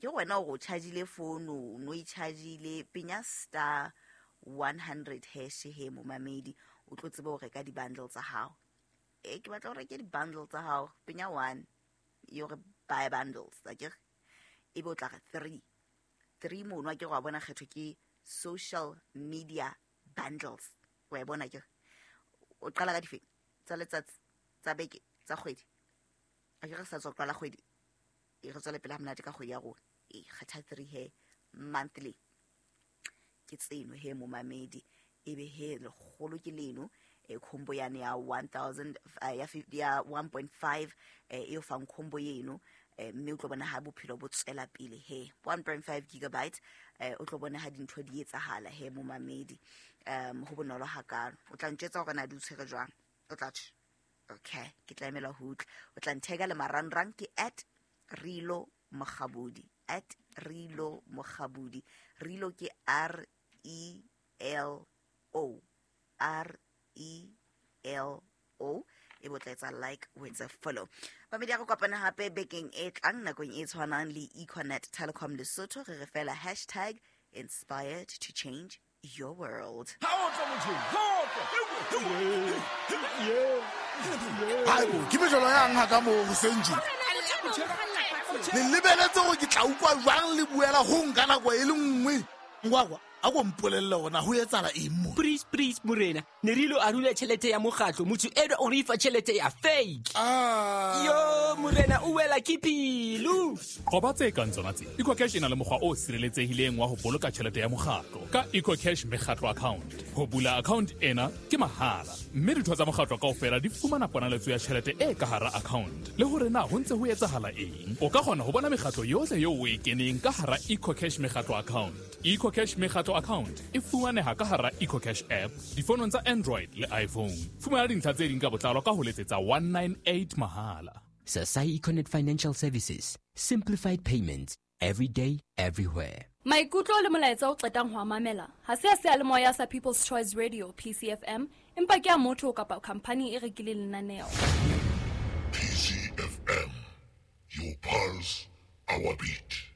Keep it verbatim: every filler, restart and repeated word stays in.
Ke wena o go chargile phone, o no e chargile, penya star one hundred hash he momamedi, o tlo tsebe ho reka di-bundle tsa hao. E ke batla ho reke di-bundle tsa hao, penya one, yo re buy bundles, akere? Ebe o tla re three. Three mono akere wa bona kgetho ke social media bundles. Wa e bona akere? O qala ka difeng? Tsa letsatsi, tsa beke, tsa kgwedi. Akere re sa tswa qala kgwedi. E re tswele pele ha monate ka kgwedi ya rona. E kgetha three he monthly. Ke tseno he momamedi, ebe he lekgolo ke leno, e combo yane ya one thousand, eh, ya fif-, ya one point five, eh, e o fang combo eno, eh, mme o tlo bona ha bophelo bo tswela pele he. one point five gigabyte, eh, o tlo bona ha dintho di etsahala he momamedi. Um, ho bonolo hakalo. O tla ntjwetsa hore na di o tshwere jwang. O tla tjho. Okay, ke tla emela ho utlwa. O tla ntheka le marangrang ke at Rilo Mokgabudi. At Rilo Mokgabudi. Rilo ke R E L O. R E L O. E bo tla etsa like, o etse follow. Bamedi ya re kopana hape bekeng e tlang nakong e tshwanang le Econet Telecom Lesotho. Re re fela hashtag inspired to change your world. Haebo, ke mejolo yang ha ka moo hoseng tje? Le lebeletse hore ke tla utlwa jwang le buela ho nka nako e le nngwe? Ngwakwa, a ko mpolelle hore na ho etsahala eng mo? Please, please, morena. Ne re ilo arula tjhelete ya mokgatlo, motho enwa o re fa tjhelete ya fake. Ah. Yo, morena, o wela ke pelo. Qoba tse kang tsona tse. EcoCash e na le mokgwa o sireletsehileng wa ho boloka tjhelete ya mokgatlo ka EcoCash mekgatlo account. Ho bula account ena ke mahala, mme ditho tsa mokgatlo kaofela di fumana ponaletso ya tjhelete e ka hara account. Le hore na ho ntse ho etsahala eng. O ka kgona ho bona mekgatlo yohle eo o e keneng ka hara EcoCash mekgatlo account. EcoCash mekgatlo account e fumaneha ka hara EcoCash app difonong tsa Android le iPhone. Fumana dintlha tse ding ka botlalo ka ho letsetsa one nine eight mahala. Sasai Econet Financial Services, simplified payments every day, everywhere. Maikutlo le molaetsa o qetang ho a mamela ha se a seyalemoya sa People's Choice Radio P C F M, empa ke a motho kapa khampani e rekileng lenaneo. P C F M, your pulse, our beat.